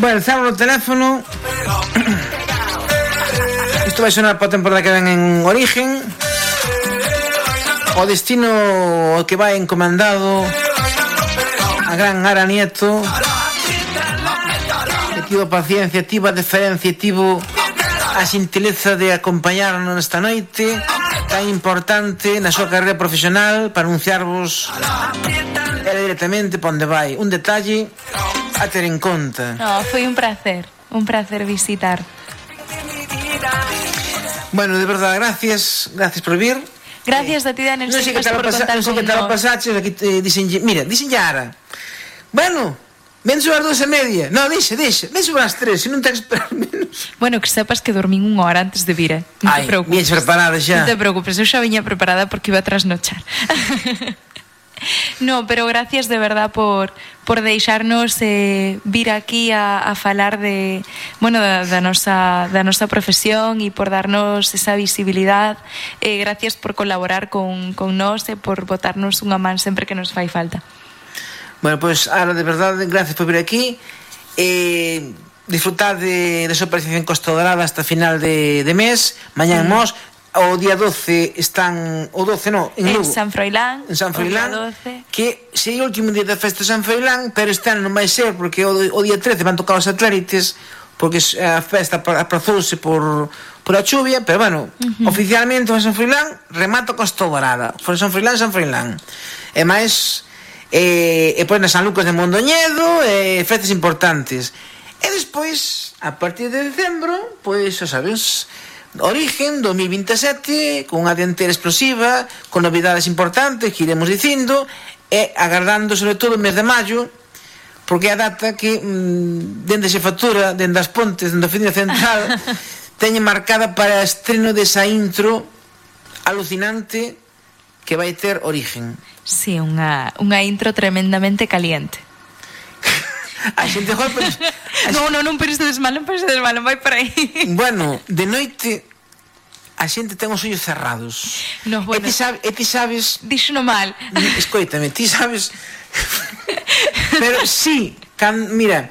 Bueno, cerro o teléfono. Isto vai sonar para a temporada que ven en Origen. O destino que vai encomendado a gran Ara Nieto, que tivo paciencia, tivo a deferencia, tivo a xentileza de acompañarnos nesta noite tan importante na súa carreira profesional para anunciarvos era directamente para onde vai. Un detalle a ter en conta. Foi un placer visitar. Bueno, de verdade, gracias por vir. Gracias a ti, Daniel. Non sei que tal o pasaches aquí mira, dixen Ara. Bueno, ven sobre as 2:30. No, dixe, ven sobre as 3, se non te esperar menos. Bueno, que sepas que dormín 1 hora antes de vir, Non te preocupes. Vienes preparada xa. Non te preocupes, eu xa viña preparada porque iba a trasnochar. No, pero gracias de verdad por deixarnos vir aquí a falar de, bueno, da nosa profesión e por darnos esa visibilidad. Gracias por colaborar con nós e por botarnos unha man sempre que nos fai falta. Bueno, pois, Ara, de verdade, gracias por vir aquí. Disfrutad de súa participación en Costa Dorada hasta final de mes. Mañán Mos. O día 12 están... O 12 non, en Lugo. En San Froilán. En San Froilán, que sei o último día da festa de San Froilán, pero este ano non vai ser, porque o día 13 van tocar os satélites, porque a festa aprazouse por a chuvia, pero bueno, oficialmente o San Froilán remata Costa Dorada. For San Froilán. E máis, pois na San Lucas de Mondoñedo, festas importantes. E despois, a partir de decembro, pois, xa sabes... Origen 2027 con unha dianteira explosiva, con novidades importantes que iremos dicindo, e agardando sobre todo o mes de maio, porque é a data que dende a xefatura, dende as Pontes, dende a Oficina Central teñen marcada para o estreno desa intro alucinante que vai ter Origen. Sí, unha intro tremendamente caliente. A xente joder, pero... Non penses mal, vai por aí. Bueno, de noite a xente ten os ollos cerrados. No, bueno. E ti sabes... Díxono mal. Escoítame, ti sabes... Pero sí, mira,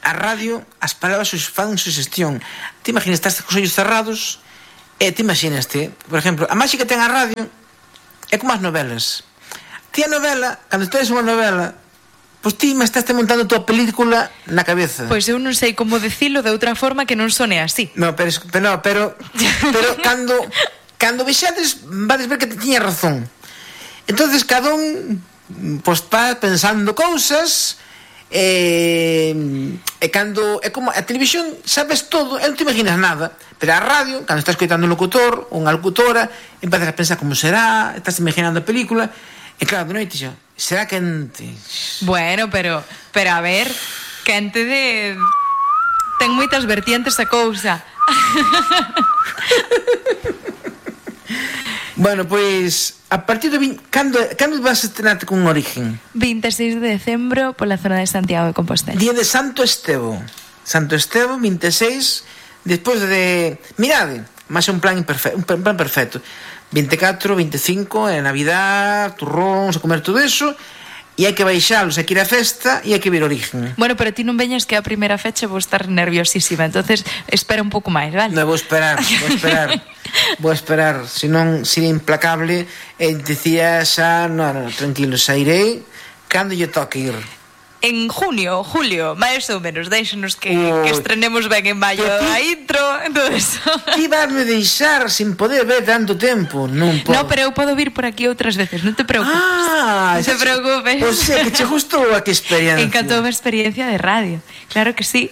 a radio, as palabras fan sugestión. Ti imaginas, estás cos ollos cerrados e ti imaginaste, por exemplo, a máxica que ten a radio é como as novelas. Ti a novela, cando estás unha novela, pois ti me estás montando a tua película na cabeza. Pois eu non sei como dicilo de outra forma que non sone así. No, pero cando vexades vades ver que te tiña razón. Entonces cada un pois va pensando cousas e cando é como a televisión sabes todo, non te imaginas nada, pero a radio, cando estás escoitando un locutor ou unha locutora, empezas a pensar como será, estás imaginando a película. E claro, de noite xa, será quente. Bueno, pero a ver, quente de... Ten moitas vertientes a cousa. Bueno, pois, a partir de... Cando vas a estrenarte con Origen? 26 de decembro pola zona de Santiago de Compostela. Día de Santo Estevo. Santo Estevo, 26, despois de... Mirade, máis un plan perfecto. 24, 25, Navidad, turróns, a comer todo eso, e hai que baixalos, hai que ir a festa e hai que ver Origen. Bueno, pero ti non veñas que a primeira fecha vou estar nerviosísima, entonces espera un pouco máis, vale? Non, vou esperar. Senón sería implacable e dicía xa, no, tranquilo, xa irei cando lle toque ir. En junio, julio, máis ou menos, deixanos que estrenemos ben en maio a intro, entonces... Ti vasme deixar sin poder ver tanto tempo, non podo. No, pero eu podo vir por aquí outras veces, non te preocupes. Non te preocupes. O sea, que che gustou a que experiencia. Encantou a experiencia de radio, claro que sí.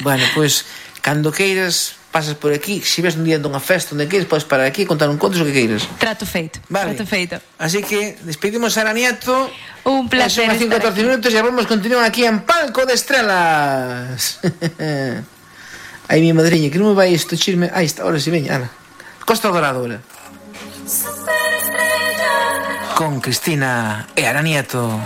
Bueno, pois, cando queiras, pasas por aquí, se ves un día dunha festa onde queiras, podes parar aquí e contar un conto o que queiras. Trato feito, vale. Trato feito. Así que despedimos a Ara Nieto. Un placer. Son 14 minutos e vamos continuar aquí en Palco de Estrelas. Ai, mi madriña, que non me vai isto chisme. Aí está, ahora si veña, Ana. Costa Dorada, ahora. Con Cristina e Ara Nieto.